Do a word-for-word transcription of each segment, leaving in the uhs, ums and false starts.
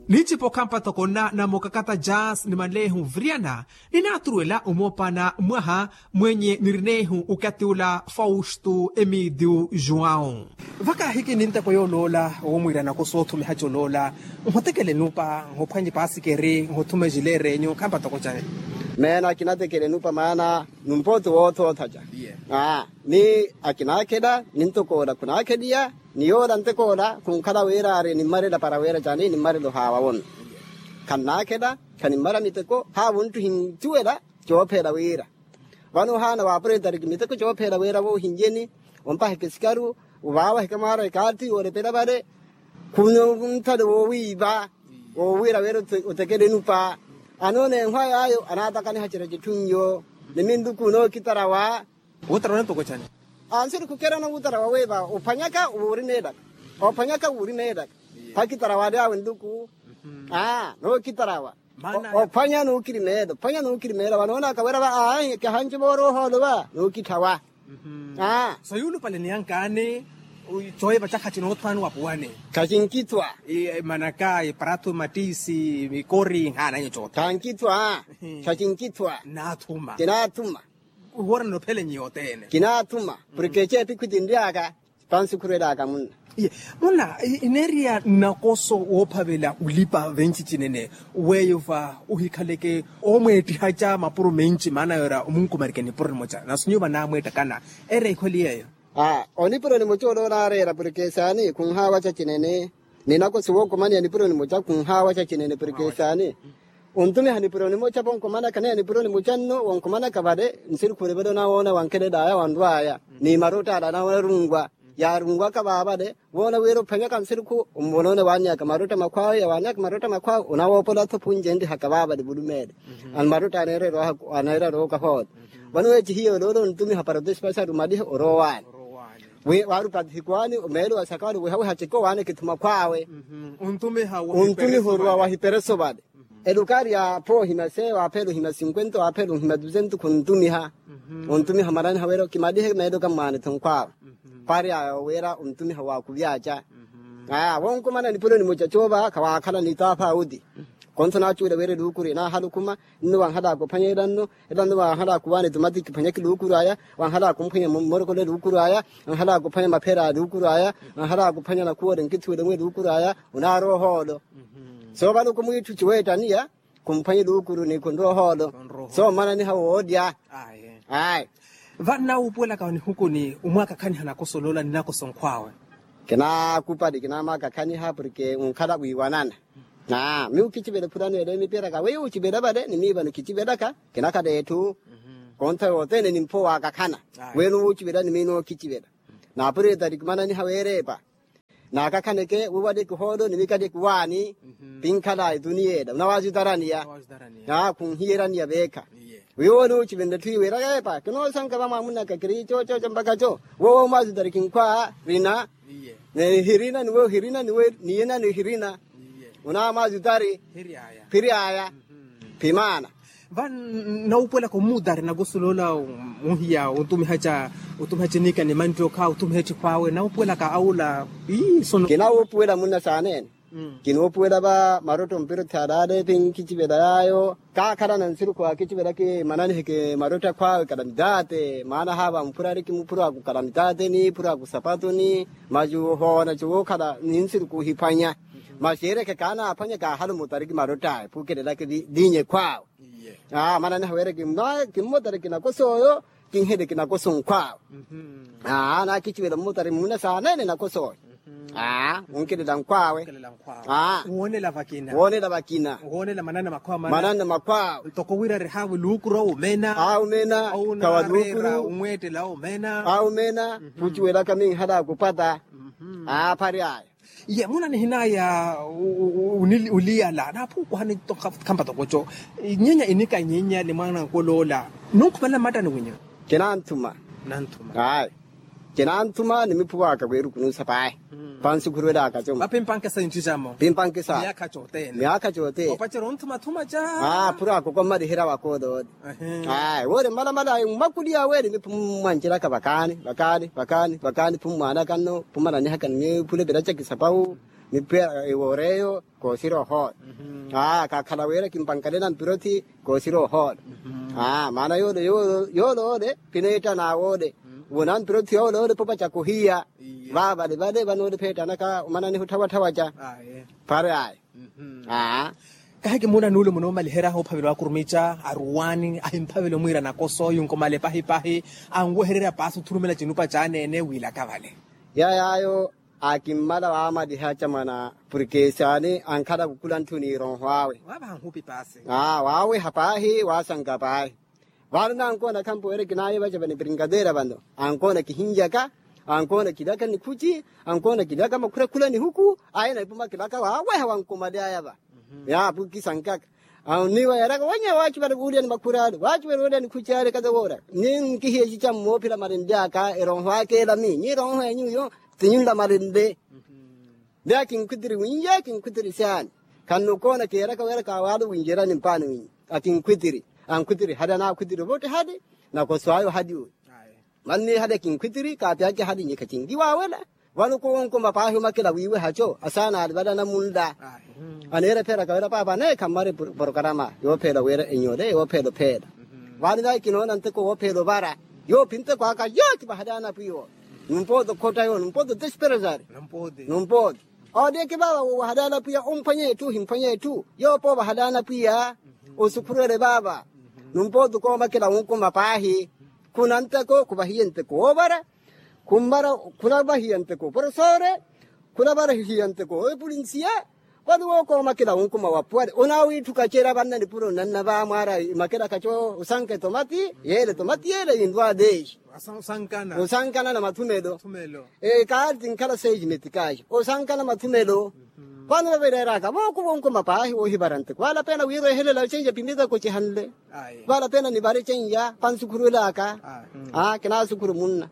Ninci pokhampa toko nna namokakata jas ni manlehu vriyana, ninaaturuwela omoopana mwaha mwenye nirinehu okati ula faustu emidiu juwau. Vakahiki ninteko yooloola womwiira nakoso othumiha coloola, nhotekele nupa, nhophwanye pasikeri, nhothuma ejileere enyu khampa toko cani? Meena kinatekele nupa maana numpooti woothootha ca. Ni akinaakhela nintokoola khunaakheliya, ni yoola ntekoola khunkhala wira ari nimmarela para wira cani nimmarela ohaawa wono. Khannaakhela khanimmara miteko haawo nttu hincuwela. Coopheela wira vano ohaana waapuretariki miteko coopheela wira voohinjeni, ompaheke sikaru, ovaawaheke mwaara ekaatti yoolepela vale. Khunthale woowiiva woowiira wira otekele nupa. Anoona enhwa yaayo anaatakaniha cira citthunyo. Ni minluku nookitarawa. Wutarawa nantoko cani? Ansiri khukerana wutarawa wiiva ophwanyaka wuurimeelaka, ophwanyaka wuurimeelaka. Phakitarawa ali awe nluku. Aa nookitarawa. Ophwanya nuukirimeela ophwanya nuukirimeela vanoonaka wira va aahi kahanci vooroha olowa nuukithawa. Aa. So yuulupale niyankaani. Cooyiva ca khaci noothwani wapuwani? Khacinkithwa. Manaka eparato matisi mikori nhaananyo coothe khankithwa. Khacinkithwa. Naathuma. Kinaathuma. Woora ninophele nyi yothene. Kinaathuma. Porke eceepi khutinry'aka. Pansi khurwel'aka munna. Munna ineeriya nnakoso woophavela olipa venci cinene. Weyo va ohikhaleke oomweettihaca mapuro menci maana yoora omunkumarike nipuro nimoca na sinyuva naamweettakana. Eera ikhweli yeeyo. Onipuro nimoca ole onaareera porke saani khunhaawaca cinene. Ninakoso wookomaniya nipuro nimoca khunhaawaca cinene porke saani. Ontumiha nipuro nimoca vonkomanaka naye nipuro nimoca nno wonkomanaka vale. Nsirikhu olevela onawoona wankhelel'aya wanrw'aya ni marotta ale anawoona arungwa. Yaarungwaka vaavale woona wira ophwanyaka nsirikhu onvonoone waannyaka marotta makhw'awe yawaannyaka marotta makhw'awe onawoopola-tho phunje enrihaka vaavale vulumeele. Marotta aneererwa aneererwa okahoole. Vano weecihiye oloola ontumiha para otesipasi arumalihe oroowaani. Waarupati hikwaani omeelo wa sakaali wihawiha ceke owaaneke thuma khwaawe. Ontumiha oruwa wahipereso vale. Elukari ya pho ohima se waaphela ohima sinkwenta waaphela ohima dusento khuntumiha. Ontumiha mwananiha wira okimalihe meelo kammwaane-tho nkhwaawe. Pari aya wira ontumiha waakuvyaca. Aa wonkumana nipuro nimoca coova khawaakhala nitaapha auti. Konso naacuwela wira eluukuru enaahala okhuma. Nno wanhalaka ophwanya ela nno ela nno wanhalaka owaana etomati kiphwanyaka eluukuru aya. Wanhalaka omphwanya mmorokolo eluukuru aya. Wanhalaka ophwanya maphera a eluukuru aya. Wanhalaka ophwanya nakhuwole nkithuwele mwa eluukuru aya. Onaarwa ohoolo. So vano khumwiitthu ciweettaniya khumphwanya eluukuru ni khunrwa ohoolo. So mmananiha woolya. Ayi. Vano nawuupuwelaka nihukuni omwaakakhaniha nakoso oloola ni nakoso nkhw'awe. Kinaakupali kinaamwaakakhaniha porke onkhala wiiwanana. Aa miyo kicivela ephurano ele mipiraka weiwo ocivela vale ni miyo vano kicivela ka. Kinakhala etthu. Kontha yothene nimpho waakakhana. Weyo nuwo ocivela ni miyo nuwo kicivela. Naapureta eri kimananiha weerepa. Naakakhaneke wiwaleke ohoolo ni mikaleke waani. Pinkhala etuniya ela onawaazitaraniya. Khunhiyeraniya veekha. Wiwo nuwo ocivenle etthu iwe eraka epa kinoosanka vamwaamunaka kiri coococo mpaka co. Wowo omwaazitari kinkhwa rina. Hirina niwe ohirina niwe niyena nihirina. Onamwaazitari. Phiri aya. Phimaana. Vano nawuupuwelaka omuutari nakoso oloola. Muhiya otumiha ca otumiha cinika ni mantti okha otumiha ettikhw'awe nawuupuwelaka awula. Kinawuupuwela munna saaneene. Kinoopuwela va marotta ompira othalaale ti nkicivela yaayo. Kaakhalana nsirikhu waakicivelaka mananiheke marotta akhwaawe kalamitaate maana haava mphurariki muphuro aku kalamitaateni phuro aku sapatoni. Masi ohoona cowookhala ni nsirikhu ohiphwanya. Masi ereke kaanaaphwanya kaahala omutariki marott'aya phukelelaka eliinye ekhwaawe. Aa mananiha weereke kimmutariki nakoso oyo. Kinhele kinakoso nkhwaawe. Aa naakicivela mmutari mmuna saaneene nakoso oyo. Aa onkelela nkhwaawe. Aa woonela vakina. Woonela vakina. Woonela manana makhwaawe manana makhwaawe. Ntoko wira rihaawe luukuru awe omena. Aa omena. Kawa luukuru. Omweettela awe omena. Aa omena. Khuciwelaka minhala akupata. Aa phari aya. Ye muna nihinaya oliyala naaphukuhani. Khampa tokoco nyenya inika nyenya ni mwana nkoloola. Nunkhumelela mmattani winyu? Kinanthuma. Nanthuma. Ayi. Kinanthuma nimiphuwaka kweeruku nuusa pahi. Pansi khurwelaka cuma. Vapimpanke saintthi camo. Pimpanke sa. Myaakha cothene. Myaakha cothene. Opacerya onthumathuma ca. Aa phurako kommaliherya wakoolole. Ayi woori mmalamala ayi mmakuliya awe nimiphumwancelaka vakaani vakaani vakaani vakaani phummwaanaka nno phummananihaka nimiphule viraca kisapawu. Nipweya eworeyo koosira ohoola. Aa kakhala wira kimpankalena mpirothi koosira ohoola. Aa maana yoole yoole yoole kineetta naawoole. Wona mpirothi yoole yoole popa cakuhiya. Vaavale vale vanoole pheettanaka omana nihutthawatthawaca. Phari ayo. Aa. Kahi kimuuna nuule munoomalihera oophavela waakurumica aruwaani ahimphavela omwiira nakoso yunkomale pahipahi. Anwehererya paasi othulumela cinupa caaneene wiilaka vale. Yayaayo akimmala waamaliha acamwana purke saani ankhala kukula nthu n'ironho awe. Waaweha paahi. Waasanka paahi. Vano nankoona khampo wira kinaye vaca vani prinkadeera vano ankoona kihinjaka. Ankoona kilaka nikhuci. Ankoona kilaka makhurakhula nihuku. Aye na ipuma kilaka waaweha wankomalyaya va. Yaapu kisankaka. Anniwa yaraka wanya waacupela wuulyani makhurale waacupela wuulyani khucale kata woora. Ni nkihiye cica mmoophila malinle aka eronho aka elami nyi eronho enyu yo. Ti nyunla malinle. Ni akinkhwitiri winye akinkhwitiri saani. Khannukoona keeraka wira kawaali winjerani mpaani winye. Akinkhwitiri ankhwitiri hali anaakhwitiri votti hali. Nakoso ayo hali uyu. Manni hali akinkhwitiri kaapyake hali nyikha cinki waawela. Vano kuwonkuma paahi omakela wiiwe haco asaana ali vale anamunla. Aneerepheraka wira paapa aneekha mmari porokarama yoopheela wira enyole yoopheela opheela. Vano vayi kinoona nteko woopheela ovara. Yoopi nteko aka yooki vahali anapwiya. Numpooto khotta yo numpooto desperesari. Numpooto ooleke vaava woowahala anapwiya omphwanya etthu ohimphwanya etthu yoopa ovahala anapwiya. Osukhurwele vaava. Numpooto koomakela wunkuma paahi. Khuna nteko khuvahiye nteko woovara. Khummara khunavahiya nteko oporosore. Khunavahiya nteko epulinsiya. Vano wookoomakela wunkuma wapuwale onaawiitthuka cera vanna nipuro nnanna vaamwaara imakela kaco osanka etomati yeele etomati yeele yintwale. Osankana na mathumelo. Kaali tinkhala seis metikaaxi osankana mathumelo. Vano vavereeraka vooko vonkuma paahi woohivara nteko vaala pena wiirehelela cenya pimitako cihanle. Vaala pena nivare cenya pansukhurulaka. Kinasukhuru munna.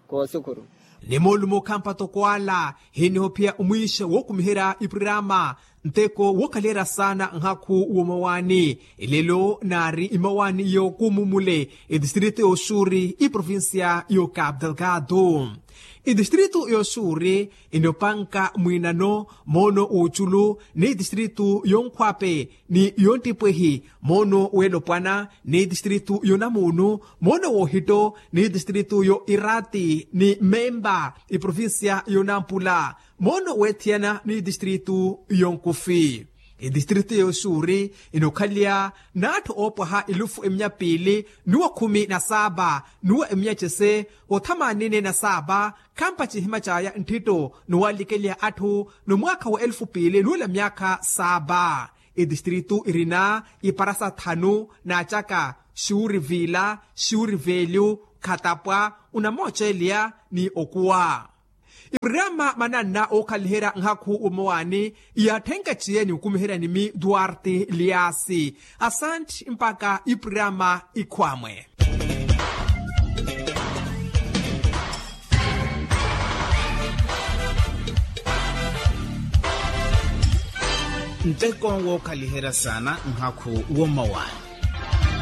Koosukhuru. Ni moolumo khampa toko ala hiniho phiya omwiixa wookumiherya ipuriraama nteko wookhaliyerya saana nhakhu woomawaani. Elelo naari imawaani yookuumumule etistrito y'oxuuri iprovincia y'okapu delgado. Etistrito y'oxuuri inopanka mwiinano moono w'oculu ni etistrito y'onkhwape ni y'ontipwehi moono w'elopwana ni etistrito y'onamuunu moono w'ohitto ni etistrito y'oirati ni memba iprovincia y'onampula moono weethiyana ni etistrito y'onkufi. Etistrito y'oxuuri inokhaliya n'atthu oopwaha elufu emiya piili n'uwa khumi na saaba n'uwa emiya cese othamaanine na saaba. Khampa cihima caya nttitto n'uwalikeliha atthu n'omwaakha wa elufu piili n'ula myaakha saaba. Etistrito irina iparasa thanu naacaka xuuri viila xuuri veelyu khatapwa onamooceeliya ni okuwa. Ipuriraama mananna ookhaliherya nhakhu w'omawaani iyatthenka ciye ni okumiherya nimi duarte liasi. Asantti mpakha ipuriraama ikhwaamwe. Nteko wookhaliherya saana nhakhu w'omawaani.